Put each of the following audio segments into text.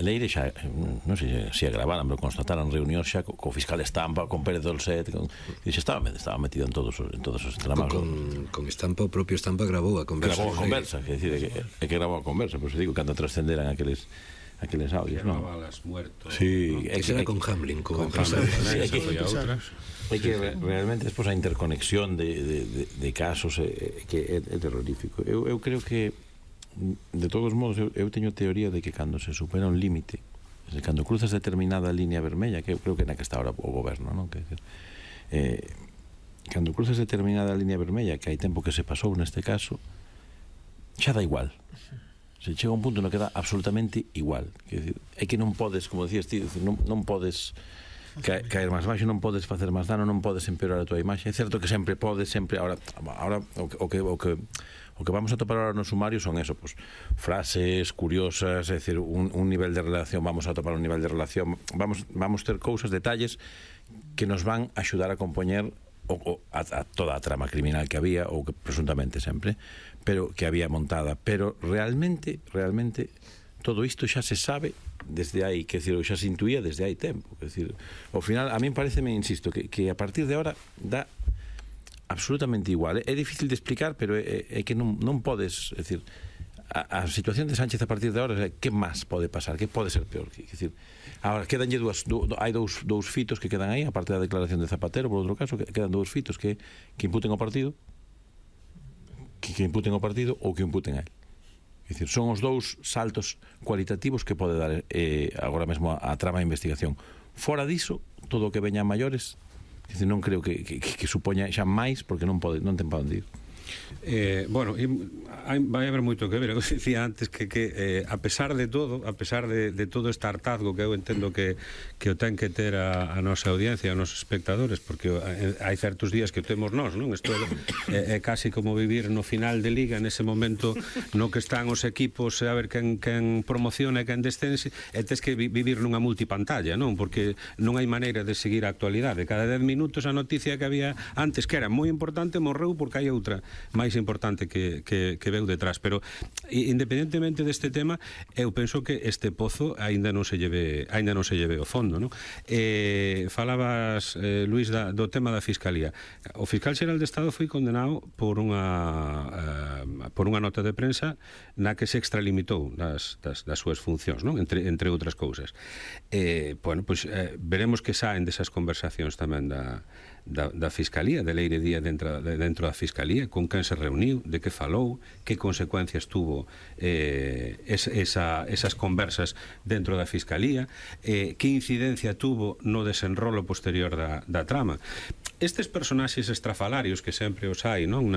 Leire xa, non sei se agravaran, pero constataran reunións xa co fiscal Estampa, con Pérez Dolcet, e xa estaba metido en todos os tramados. Con Estampa, o propio Estampa grabou a conversa. Grabou a conversa, que grabou a conversa, por eso digo, cando trascenderan aqueles audios, non? Balas muertos. Sí, que será con Hamlin, con Hamlin. É que realmente despois a interconexión de casos que é terrorífico. Eu creo que de todos modos, eu teño teoría de que cando se supera un límite, cando cruzas determinada línea vermella, que eu creo que na que está ahora o goberno, non? Cando cruzas determinada línea vermella, que hai tempo que se pasou neste caso, xa dá igual. Se chega un punto no que dá absolutamente igual. É que non podes, como decías ti, non podes caer máis baixo, non podes facer máis dano, non podes empeorar a tua imaxe. É certo que sempre podes, ahora o que vamos a topar ahora no sumario son eso, pues, frases curiosas, é dicir, un nivel de relación, vamos a topar un nivel de relación, vamos ter cousas, detalles que nos van a axudar a compoñer a toda a trama criminal que había, ou que presuntamente sempre, pero que había montada, pero realmente todo isto xa se sabe desde aí, que decir, xa se intuía desde hai tempo, que decir, ao final a mí pareceme, insisto, que a partir de ahora dá absolutamente igual. É difícil de explicar, pero é que non podes, é dicir, a situación de Sánchez a partir de ahora, que máis pode pasar, que pode ser peor, que decir, agora quedanlle hai dous fitos que quedan aí, aparte da declaración de Zapatero, por outro caso, quedan dous fitos que imputen ao partido, que imputen ao partido ou que imputen a él. É dicir, son os dous saltos cualitativos que pode dar agora mesmo a trama de investigación. Fora diso, todo o que veña a maiores, é dicir, non creo que supoña xa máis, porque non ten para onde ir. Bueno, vai haber moito que ver. Eu dicía antes que a pesar de todo este hartazgo que eu entendo que o ten que ter a nosa audiencia, os nosos espectadores, porque hai certos días que o temos nós, non? Isto é casi como vivir no final de liga, nese momento no que están os equipos a ver quen promociona e quen descense, e tes que vivir nunha multipantalla, non? Porque non hai maneira de seguir a actualidade. Cada 10 minutos a noticia que había antes, que era moi importante, morreu porque hai outra máis importante que veu detrás. Pero independentemente deste tema, eu penso que este pozo aínda non se lleve ao fondo, non? Falabas, Luís, do tema da Fiscalía. O Fiscal Xeral de Estado foi condenado por unha nota de prensa na que se extralimitou das súas funcións, non? Entre outras cousas. Bueno, pois veremos que saen desas conversacións tamén da Fiscalía, de Leire Díaz dentro da Fiscalía, con quen se reuniu, de que falou, que consecuencias tuvo esas conversas dentro da Fiscalía, que incidencia tuvo no desenrolo posterior da trama. Estes personaxes estrafalarios que sempre os hai, non,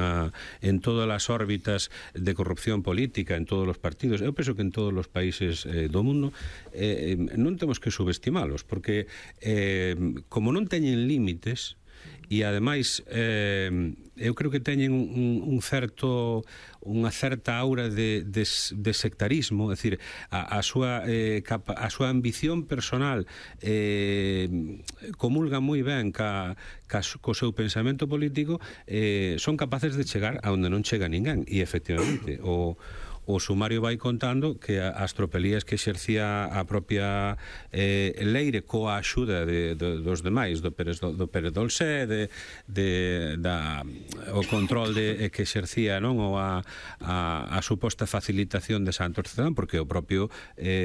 en todas as órbitas de corrupción política, en todos os partidos, eu penso que en todos os países do mundo, non temos que subestimalos, porque como non teñen límites, e ademais eu creo que teñen unha certa aura de sectarismo, é dicir, a súa ambición personal comulga moi ben co seu pensamento político, son capaces de chegar a onde non chega ninguén, e efectivamente o sumario vai contando que as tropelías que exercía a propia Leire coa axuda dos demais, do Pérez Dolcet, o control que exercía, non, ou a suposta facilitación de Santos Cerdán, porque o propio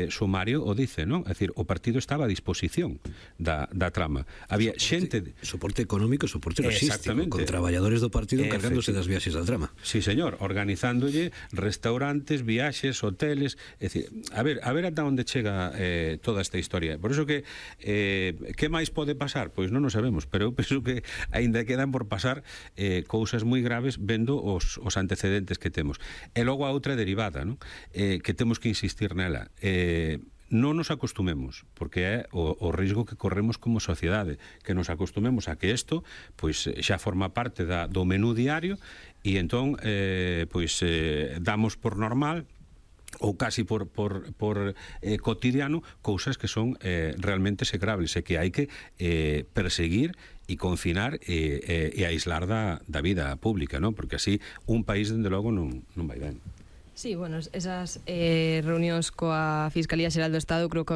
sumario o dice, non? É dicir, o partido estaba a disposición da trama. Había xente... Soporte económico, soporte logístico, con traballadores do partido encargándose das viaxes da trama. Sí, señor, organizándolle restaurantes, viaxes, hoteles, é dicir, a ver ata onde chega toda esta historia. Por iso que máis pode pasar? Pois non o sabemos, pero eu penso que aínda quedan por pasar cousas moi graves vendo os antecedentes que temos. E logo a outra derivada, non? Que temos que insistir nela. Non nos acostumemos, porque é o risco que corremos como sociedade, que nos acostumemos a que isto pois xa forma parte do menú diario, e entón damos por normal ou casi por cotidiano cousas que son realmente execrables e que hai que perseguir e confinar e aislar da vida pública, non? Porque así un país, dende logo, non vai ben. Sí, bueno, esas reunións coa Fiscalía Xeral do Estado creo que